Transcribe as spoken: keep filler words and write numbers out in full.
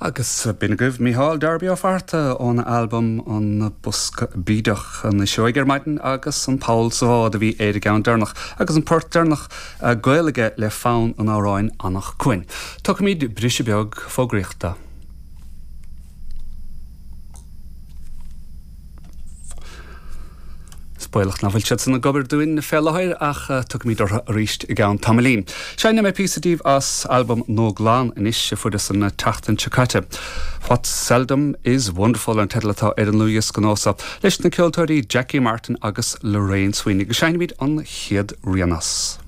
Agus b'in agaibh Mícheál Darby Ó Fatharta óna albam an Bosca Bídeach an Fhuiseog ar maidin agus an Poll sa Bhád a bhí ar an gceann deireanach agus an port deireanach gaol aige le fonn an amhráin Anach Cuain. Tógfaimid briseadh beag fógraíochta. Is baolach nach bhfuil siad san ag obair dúinn fé láthair ach tiocfaimid orthu arís i gceann tamaillín. Seinnfidh mé píosa daoibh as albam Nua Glan anois a fuaireas an tseachtain seo caite. What's Seldom is Wonderful an teideal atá ar an ndlúthdhiosca nua seo leis na ceoltóirí Jackie Martin agus Lorraine Sweeney agus seinnfimid an chéad rian as.